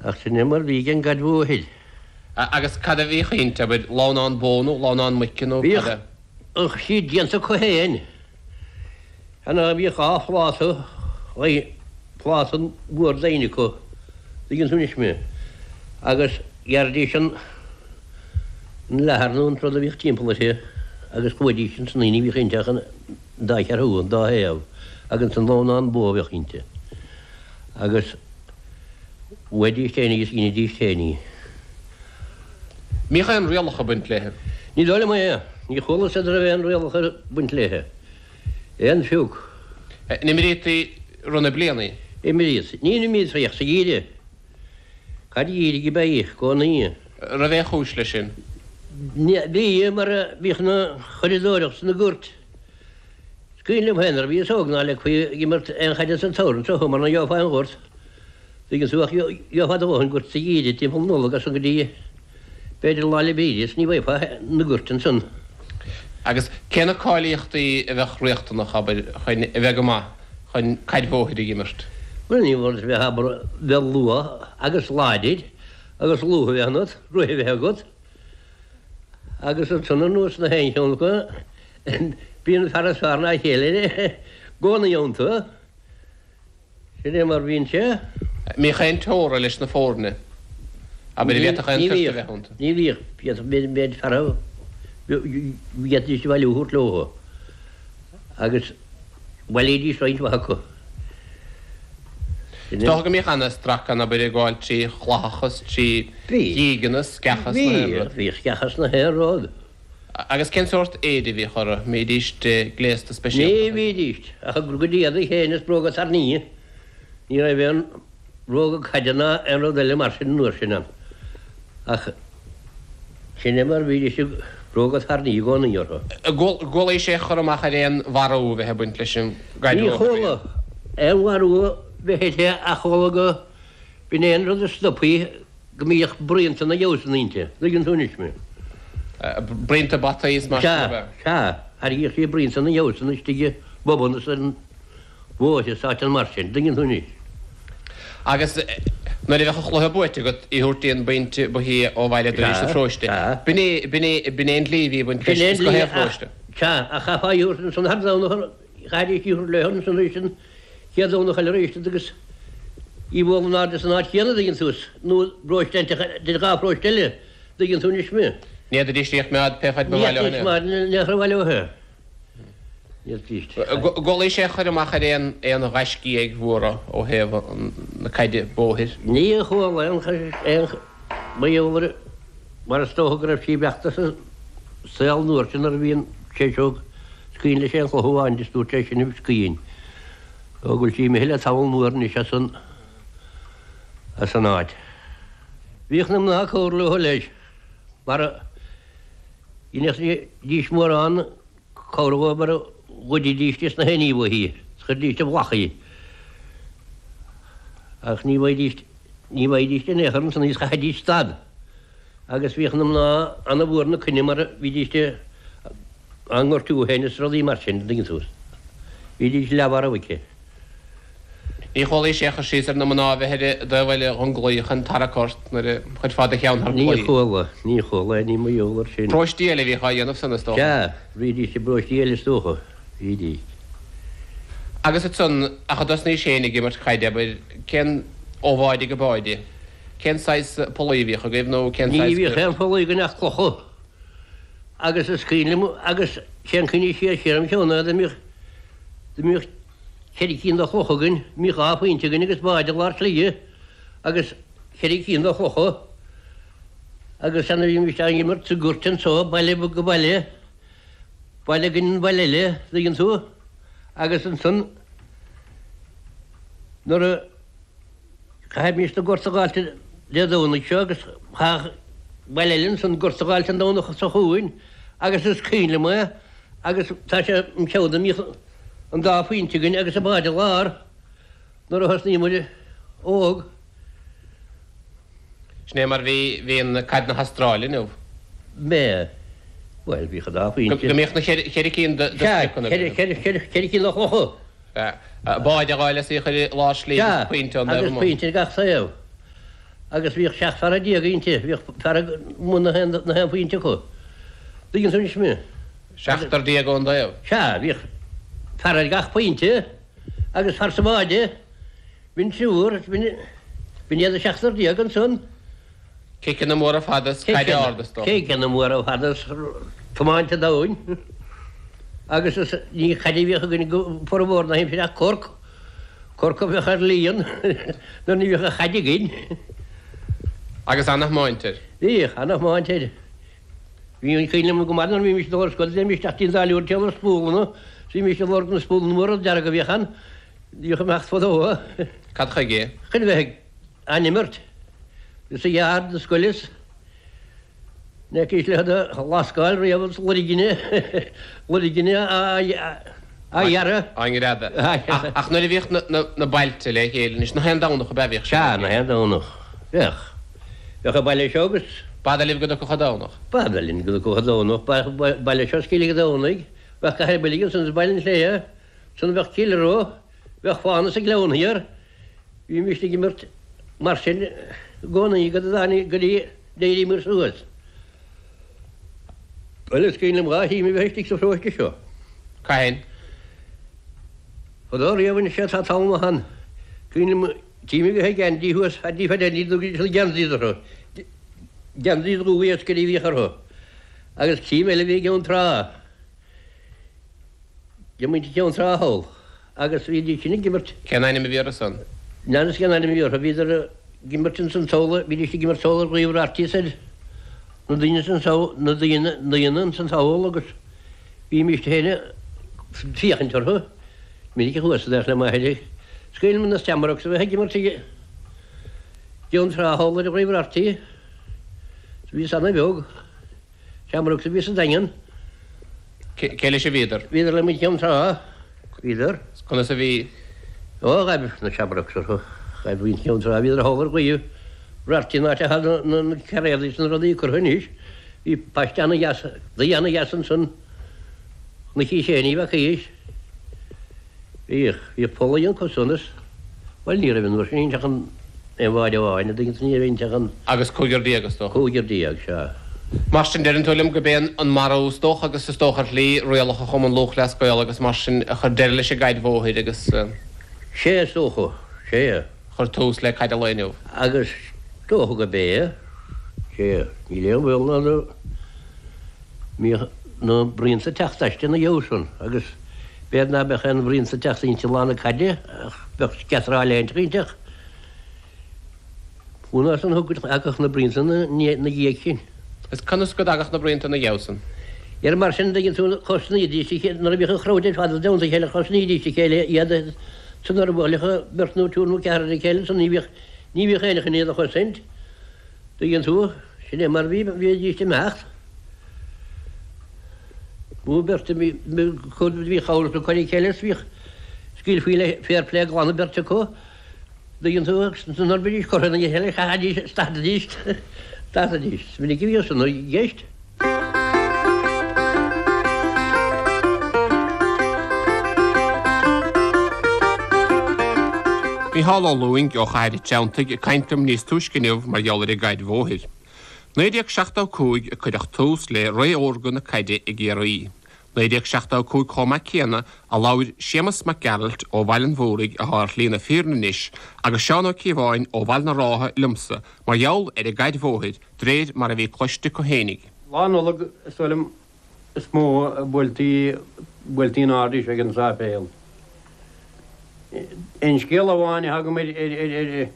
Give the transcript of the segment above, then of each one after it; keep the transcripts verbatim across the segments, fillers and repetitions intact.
Ach sin é mar bhí ag an gcaid bhóthair. Agus cad a bhíodh inti, abair, lamhnán bó nó lamhnán muice nó cad a. Bhíodh siad déanta acu féin. Cheana bhíodh dhá phláta, pláta mór doimhin acu, tuigeann tú anois mé, agus ghearraidís an leathar nó an rud a bhíodh timpeall uirthi agus chuaidís ansan í, ní bhíodh inti ach an dá cheathrú, an dá thaobh, agus ansan lamhnán bó a bheadh inti. Agus bhuaidís féin í agus dheinidís féin í. Mbíodh aon rialacha ag baint léithe? Ní dóigh liom é. Ní chualas an raibh aon rialacha ag baint léithe. Aon phioc. An imríotí i rith na bliana í? Imríodh. Ní imríotí ach sa gheimhreadh. Caid gheimhridh ab ea í i gcónaí. Raibh aon chúis leis sin? Bhí, mar bhíodh na curadóireacht sna goirt. Is cuimhin liom féin nuair a bhíos óg ná leigfí ag imirt aon chaide sa tsamhradh anseo thú mar ná gheofá aon ghort. Tuigeann tú ach gheofá do dhóthain goirt sa gheimhreadh timpeall Nollag as san go dtí b'fhéidir Lá 'le Bríde is ní bhfaighfeá na goirt ansan. Agus cé na cáilíochtaí a bheadh riachtanach, abair, chun a bheith go maith chun caid bhóthair a imirt? Bhuel ní mór duit bheith, abair, bheith luath agus láidir agus lúth a bheith ionat, rith a bheith agat agus ansan anuas na haon cheann acu bíonn fear is fearr ná a chéile i gcónaí iontu. Sin é mar bhíonn sé. Mbíodh aon teora leis na foirne? Abair, an bhféadfadh aon Ní phort a bhíodh. bheith iontu? Ní bhíodh. Bhíodh méid fear a bhféadfaidís a bhailiú a thabhairt leo agus bhailídís roinnt mhaith acu. Sin Is é. dócha go mbíodh ana-strac ann, abair, ag gabháil trí chlathacha is trí Bhí. dhígeanna, sceacha is na haon Bhí. rud. Bhíodh sceacha is na haon rud. Agus cén sórt éide a bhíodh orthu? Mbídís gléasta Ní speisialta? bhídís, ach a gcuid éadaigh féin is bróga tairní. Ní raibh aon bhróga caide ná aon rud eile mar sin an uair sin ann. Ach sin é mar a bhídís, bróga tairní i gcónaí orthu. Chualaís aon chur amach ar aon mharú a bheith ag baint leis an gcaid Ní bhóthair chuala riamh? aon mharú a bheith uirthi ach chuala go b'in é an rud a stop í go mbíodh braonta na gcamhsan inti. Tuigeann tú anois mé. Braonta bataí is mar sin Sea, ab ea? sea. Thairgíodh sí braonta na gcamhsan istigh i bpubanna is ar an bhóithre is áiteanna mar sin. Tuigeann tú anois. Agus nuair a bheadh an chluiche buaite agat, í a thabhairt dtí an bpointe ba shia ó bhaile Doire sa Sea, pharóiste. sea. B'in é, b'in é, b'in é an dlí a bhí ag baint Sin leis é an is go dlí haon ach, pharóiste. sea, ach chaithfeá í a thabhairt ansan thar Domhnach, chaithfidís í a thabhairt leo ansan arís an chéad Domhnach eile arís agus í a bhualadh in airde san áit chéanna, dtuigeann tú, nó paróiste inteacht de dhá pharóiste eile, dtuigeann tú anois mé. Ní fhéadfaidís í a choimeád pé faid ba Ní mhaith leo fhéadfaidís é. mar ní raibh mhaith leo é. Ní fhéadfaidís. Chualaís aon chur amach ar aon aon ghaiscígh mhóra ó thaobh na caide bóthair? Ní chuala aon aon mar gheall ar mar is dócha go raibh sí beachta sa saol an uair sin nuair a bhí an tséiseog scaoin leis aon chloch amháin is dúirt sé sin scaoin. Ó go bhfuil sí imithe le tamall mór anois as an as an áit. Bhíodh na mná ag cabhrú leo leis, mar a dheineadh mórán cabhrach dhóibh mar a ghoididís des na haon ní uaithi, is chuiridís i bhflach í. Ach ní bhfaighidís ní bhfaighidís in aon chor ansan í is chaithfidís stad. Agus bhíodh na mná ana-mhór 'na coinne mar bhídís á ngortú féin is rudaí mar sin, an dtuigeann tú. Bhídís leathmharbh aici. Ní chualaís aon chur síos ar na mná a bheith ar an dtaobh eile dhon gclaí chun tarrac ort nuair a chuirfeá do cheann thar Ní claí. chuala, ní chuala, ní mar gheall air sin. Paróistí eile a bhíodh á dhéanamh san, is dócha. Sea, bhídís i bparóistí eile is dócha. Bhídís. Agus ansan, ach a dtosnaís féin ag imirt caide, abair, cén, ó bháide go báide, cén saghas pollaí a bhíodh agaibh nó cén Ní saghas bhíodh goirt? aon phollaí againn ach clocha. Agus is cuimhin liom, agus sé'n cuimhne siar siar im cheann ná dá mbíodh, dá mbíodh ceithre cinn de chlocha againn, bhíodh dhá phointe againn agus bád i lár slighe agus ceithre cinn de chlocha agus ann a bhímis ag imirt sa gcúirt anso, baile go baile, baile againn an baile eile, dtuigeann tú, agus ansan nuair a chaithfimis na gort a dh'fháilt Dé Domhnaigh seo agus chaithfeadh baile eile ansan gort a dh'fháilt an Domhnach seo chugainn agus is cuimhin liom é agus tá sé im cheann dá mbíodh an dá phointe againn agus an bád i lár nuair a thosnaigh muid óg. Sin é mar bhí, bhí an caid na hAstráile inniu. Mé, bhuel, bhíodh an dá Go phointe. mbíodh na ceithre, ceithre cinn de, de Sea, spriocanna ceithre, againn. ceithre, ceithre, ceithre cinn de chlocha. Sea, bád a dh'fháil is í a chur i lár slí agus Sea, pointe ón dtaobh agus amuigh. pointe ar gach taobh. Agus bhíodh seacht fear déag inti, bhíodh fear i mbun na haon phointe acu. Tuigeann tú anois mé? Seachtar déag ón dtaobh. Sea, bhíodh fear ar gach pointe agus fear sa bháide, b'in triúr, b'in iad an seachtar déag ansan. Ciceanna móra fada is caid ard is dócha. Ciceanna móra fada is tiomáint an domhain. Agus is ní caid a bhíodh againn go formhór na haimsire ach corc. Corc a bheadh ar líon nuair ní bhíodh an chaid againn. Agus ana-thiomáint air. Bhíodh, ana-thiomáint air. Bhí an cuimhin liom go maith nuair a bhímis ag dul ar scoil, théimis isteach dtí an táilliúir timpeall ar spúlanna, bhímis ag lorg na spúlanna móra dearga a bhíodh ann, bhíodh imeacht fadó. Cad chuige? Chun bheith á n-imirt sa yard na scoile is ní fhacaís le iad a lascáil riamh is loirgine, loirgine á ghearradh. Á ngreadadh. Ach nuair a bhíodh na bailte le chéile anois, na haon Domhnach ab ea a bhíodh sin? Sea, na haon Domhnach. Bheadh. Bheadh an baile seo agus. B'fhada libh go dtiocfadh an Domhnach? B'fhada linn go dtiocfadh an Domhnach. Bheadh baile seo is Cill an Domhnaigh, bheadh Cathair Bhuilg ansan is Baile an Tsléibhe, ansan bheadh Cill Rois, bheadh Fána sa Ghleann Thiar. Bhímist ag imirt mar sin i gcónaí go dtáinig go dtí d'éiríomar suas. Bhuel, is cuimhin liom dhá thím a bheith istigh sa pharóiste seo. Cathain? Fadó riamh anois tá tamall maith ann. Cuimhin liom tím a bheith ag Andy thuas, Andy Phaid Andy, dtugaidís na geansaí orthu. Geansaí dubha iascairí a bhíodh orthu. Agus tím eile a bhí i gCeann Trá. Ag muintir Cheann Trá thall. Agus bhídís sin ag imirt. Cén ainm a bhí orthu san? N'fheadar cén ainm a bhí orthu. Bhíodar ag imirt ins an tsamhla, bhídís ag imirt thall ar Ghaoth Rairtigh soir, na daoine san samh, na daoine, daoine ins an tsamhail agus bhímíst féin ag féachaint orthu. Minic a chuas ag le m'athair. Is cuimhin liom na Shamrocks a bheith ag imirt i gCeann Trá thall ar Ghaoth Rairtigh. Bhíos ana-bheag. Shamrocks a bhí sa Daingean. Cé leis a bhíodar? Bhíodar le muintir Cheann Trá. Bhíodar. Conas a bhí? Ó, ghaibh na Shamrocks orthu. Ghaibh muintir Cheann Trá. Bhíodar thall ar Ghaoth Rairtigh an áit atá na cairéadaí is na rudaí curtha anois. Bhí paiste ana-dheas, tuí ana-dheas ansan. Chnoic Uí Shé, ní bhfacaís. Bhíodh, bhíodh pollaí acu san is, bhuel ní raibh an uair sin inti ach an aon bháide amháin, a dtuigeann tú, ní raibh inti ach an. Agus cúigear déag is dócha. Cúigear déag, sea. Mar sin, deireann tú liom go b'é an marú is dócha agus is dócha ar shlí rialacha Chumann Lúthchleas Gael agus mar sin a chuir deireadh leis an gcaid bhóthair agus. Sea, is dócha, sea. Chuir tús le caid an lae inniu. Agus is dócha go b'é, sea, níl aon bhaol ná go mbíodh na braonta ag teacht aisti ina dhiaidh san agus b'fhéidir ná beadh aon bhraonta ag teacht inti lá na caide ach bheadh sceatráil inteacht. Fiú san thagadh na braonta ina dhiaidh sin. Is conas go dtagadh na braonta ina dhiaidh san? Ar mar sin, dtuigeann tú, chosnaídís a chéile, nuair a bhíodh an crowd ar fad i dteannta a chéile, chosnaídís a chéile iad san nuair a bhuailfeadh beirt nó triúr nó ceathrar a chéile ansan ní bhíodh, ní bhíodh éinne chun iad a chosaint. Tuigeann tú, sin é mar a bhí, bhídís ag imeacht. Nó beirt a bhí, bhí chabhair acu ar a chéile is bhíodh, scaoilfí le fair play glan an bheirt acu. Tuigeann tú, agus nuair a bhídís curtha ina chéile, chaithfidís, stadaidís, stadaidís. Is minic a bhíodh san i gceist. Mícheál Ó Lúing ó Chathair an Treanntaigh ag caint liom níos túisce inniu mar gheall ar an gcaid bhóthair. naoi déag seachtó a cúig a cuireadh tús le ré órga na caide i gCiarraí. naoi déag seachtó a cúig chomh maith céanna a labhair Séamus Mac Gearailt ó Bhaile an Mhúraigh atá ar shlí na fírinne anois agus Seán Ó Cíobháin ó Bhaile na Rátha liomsa mar gheall ar an gcaid bhóthair d'réir mar a bhí cloiste acu fhéinig. Lá Nollag is dóigh liom is mó a buailtí buailtí in airde ag an sáipéal. Aon scéal amháin a thagaim ar ar ar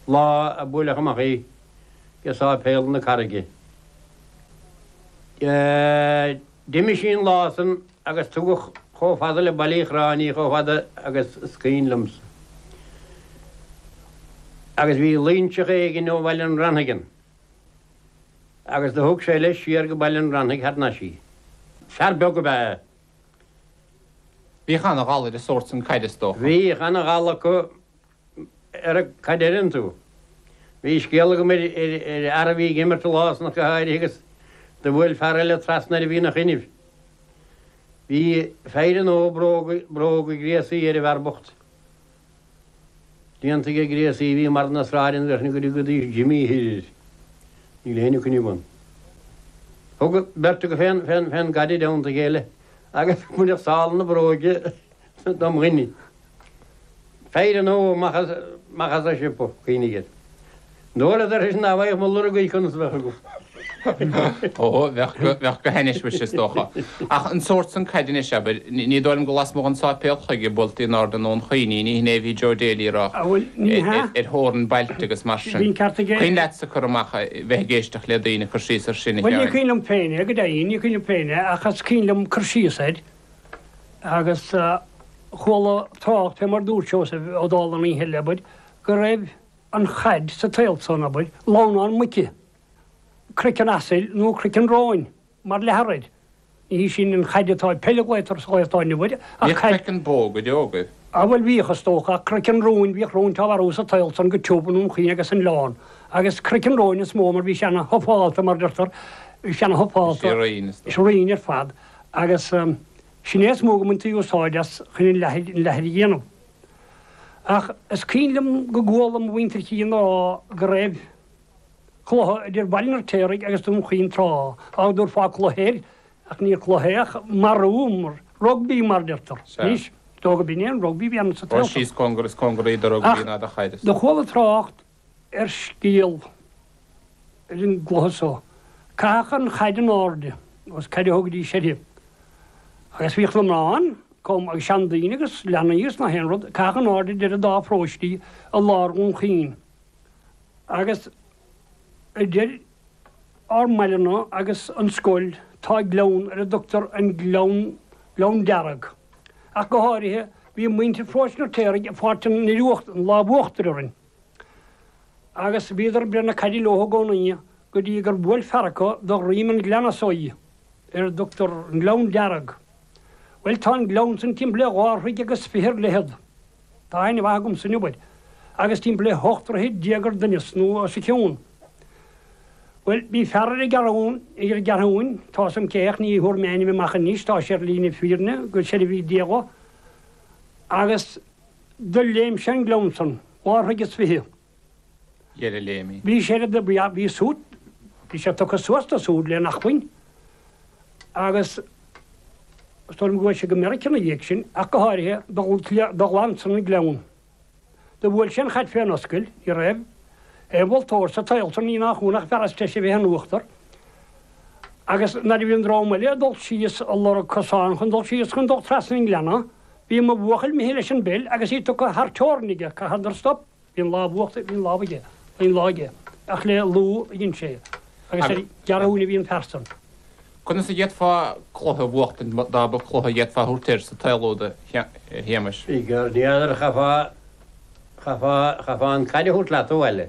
lá a buaileadh amach í ag sáipéal na Carraige. D'imigh sí an lá san agus tugadh chomh fada le Baile Uí Chorráin í chomh fada agus is cuimhin liomsa. Agus bhí Loinseach éigin ó Bhaile an Rannaigh ann agus do thug sé leis siar go Baile an Rannaigh thar n-ais í. Fear beag ab ea é. Bhíodh ana-ghal ar an sórt san caide is dócha. Bhíodh ana-ghal acu ar an gcaid deireann tú. Bhí scéal agam ar fhear a bhí ag imirt an lá san ach go háirithe agus do bhuail fear eile trasna air a bhí ina choinnibh. Bhí fear nó bróga, bróga gréasaí ar an bhfear bocht. Déanta ag gréasaí a bhí mar na sráideanna leis na go dtugaidís Jimmy Hill air. Níl éinne cuimhne agam. Thug beirt acu fén fén fén gcaid i dteannta a chéile agus baineadh sála na bróige dom dhuine. Fear an ó amach as amach as an siopa, cuimhnigh air. Dóladar sin dá bhfaigheadh mo lorg í conas a bheadh agam. Ó, bheadh go, bheadh go hainnis muis is dócha. Ach an sórt san caide anois, abair, ní dóigh liom gur lasmuigh den sáipéal chuige buailtí in airde i nDún Chaoin í, ní hin é a bhí Joe Daly a rá, Ah, bhuel, ní hea. ar thóir na mbailte agus mar sin. Bhí an ceart aige. Cuimhin leatsa cur amach, bheith ag éisteacht le daoine ag cur síos ar sin, a Bhuel, ní Sheáin? cuimhin liom féin é, go deimhin, ní cuimhin liom féin é, ach is cuimhin liom cur síos air. Agus chuala trácht fé mar dúirt Seosamh Ó Dálaigh an oíche eile, abair, go raibh an chaid sa tsaol san, abair, lamhnán muice, craiceann asail nó craiceann róin mar leathar air. Ní hí sin an chaid atá peil a ghlaotar sa lá atá inniu air, ach Bhíodh caid. craiceann bó go deo agaibh. Á bhuel bhíodh is dócha, ach craiceann róin, bhíodh róin á mharú sa tsaol san go tiubh i nDún Chaoin agus san Oileán. Agus craiceann róin is mó mar bhí sé ana thufálta mar deirtear, bhí sé ana thufálta. Bhí sé righin is dócha. Sé righin ar fad. Agus sin é is mó go mbaintí úsáid as chun an leathar, an leathar a dhéanamh. Ach is cuimhin liom go gcuala mo mhuintir féin á rá go raibh cluiche idir Baile an Fheirtéaraigh agus Dún Chaoin tráth, á dtabharfá cluiche air, ach níor chluiche é ach marú, mar rugbaí mar deirtear. Anois, is dócha b'in é an rugbaí a bhí ann sa Ó tsaol. síos cóngar is cóngaraí do rugbaí ná do chaid. Ach do chuala trácht ar scéal ar an gcluiche so. Caitheadh an chaid in airde, agus caid a thugaidís uirthi. Agus bhíodh na mná ann, chomh agus seandaoine agus leanaí agus nach aon rud, caitheadh in airde idir an dá pharóistí i lár Dhún Chaoin. Agus idir ár mbaile-na agus an scoil tá gleann ar a dtugtar an Gleann, Gleann Dearg. Ach go háirithe, bhí muintir Pharóiste an Fheirtéaraigh ag fáilt an an lámh uachtair orainn. Agus bhíodar ag breith na caide leo i gcónaí go dtí gur bhuail fear acu do dhroim an ghleanna so í, ar a dtugtar an Gleann Dearg. Bhuel, tá an gleann san timpeall le dhá throigh agus fiche ar leithead. Tá aithne mhaith agamsa inniu air. Agus timpeall le hocht dtroithe déag ar doimhneas, nó os a chionn. Bhuel, bhí fear ar an gCeathrúin, ar an gCeathrúin, tá 'fhios a'm cé ach ní thabharfaidh mé a ainm amach anois, tá sé ar shlí na fírinne, go seirbhí Dé dhó. Agus do léim sé an gleann san, dhá throigh is fiche. Dheireadh léim. Bhí sé ar, bhí, bhí súd, bhí sé tugtha suas do súd lena acmhainn. Agus is dóigh liom go bhfuair sé go Meiriceá ina dhiaidh sin, ach go háirithe, do ghlan san an gleann. Do bhuail sé an chaid fén oscail, ní raibh aon mholtóir sa tsaol san, ní nach ionadh, ach fear is deise a bheith in uachtar. Agus nuair a bhí an dream eile ag dul síos ag lorg cosán chun dul síos chun dul trasna an ghleanna, bhí mo bhuachaill imithe leis an bpeil agus í tugtha thar teorainn aige, chaitheadar stop. Bhí an lámh uachtair, bhí an lámh aige, bhí an lá aige, ach le lúth a dhein sé é, agus ar an gCeathrúin a bhí an fear san. Conas a d'fhéadfá cluiche a bhuachtaint dá mba cluiche a d'fhéadfá a thabhairt air sa tsaol úd, a Shéamais? Bhí gar, ní fheadar, chaithfeá, chaithfeá, chaithfeá an caid a thabhairt leat abhaile.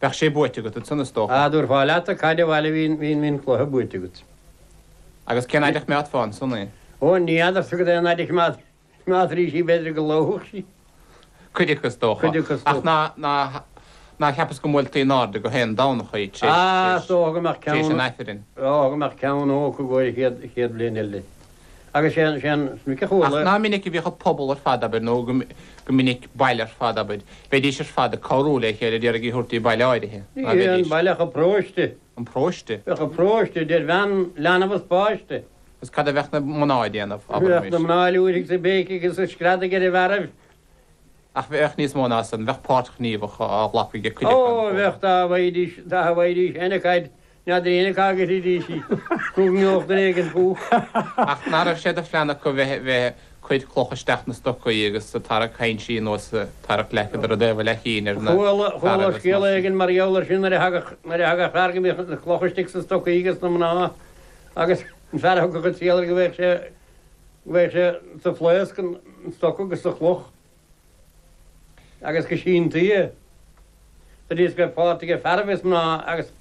Bheadh sé buaite agat ansan, is dócha. Dá dtabharfá leat an caid abhaile bhí, bhí, bhí an cluiche buaite agat. Agus cén fhaid a choimeádfá ansan í? Ó, ní fheadar, cad é an fhaid a choimeád, choimeádfaí í, b'fhéidir go lobhfadh sí. Cuid acu is dócha. Cuid acu is dócha. Ach ná, ná, ná cheapas go mbuailtí in airde gach aon Domhnach í tar éis, Ah, is dócha go mbeadh tar éis ceann, an Aifrinn. dócha go mbeadh ceann acu i gcomhair an chéad, chéad bhliain eile. Agus sé an, sé an, is minic a Ach chuala. ná minic a bhíodh an pobal ar fad, abair, nó go, go minic baile ar fad, abair, bheidís ar fad ag cabhrú le chéile d'iarraidh í a thabhairt dtí baile áirithe, Ní ná hé an bheidís. baile ach an paróiste. An paróiste? Bheadh an paróiste, idir bhean, leanbh is páiste. Agus cad a bheadh na mná ag déanamh, Bheadh abraimis? na mná ag liúirigh is ag béicigh agus ag screadaigh ar an bhfearaibh. Ach bheadh níos mó ná san, bheadh páirt ghníomhach á ghlacadh ag cuid acu. Ó, bheadh, dá bhfaighidís, dá bhfaighidís féin an chaid, n'fheadar éinne cá gcuirfidís í, nó go ngeobhadh duine éigin fúthu. Ach ná raibh sé de phlean acu bheith, bheith cuir cloch isteach na stocaí agus ag tarrac cainsí anuas, ag tarrac leice de rud éigin le chinn ar na Chuala, chuala fearaibh is scéal mar sin. éigin mar gheall air sin nuair a thagadh, nuair a thagadh fear go mbíodh na clocha istigh sna stocaí ages na mná agus an fear a thiocfadh an triail air go bhfaigheadh sé, go bhfaigheadh sé sa phlaosc an stoca agus sa chloch. Agus go síntí é. Go dtí is go raibh páirt aige fearaibh is mná agus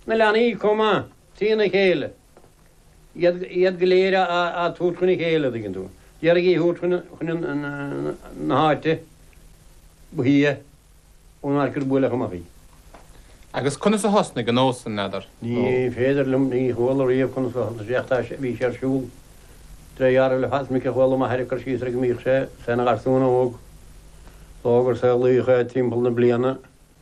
na leanaí chomh maith, trína chéile. Iad, iad go léir á, á tabhairt chun a chéile, an dtuigeann tú. D'iarraidh í a thabhairt chun, chun na háite ba shia ón áit gur buaileadh amach í. Agus conas a thosnaigh an nós san, n'fheadar? Ní féidir liom, ní chuala riamh conas a thosnaigh sé ach tá sé, bhí sé ar siúl tré dhealramh le fada. Is minic a chuala m'athair ag cur síos air go mbíodh sé, sé ina gharsún óg. Lá gur saolaíodh é timpeall na bliana.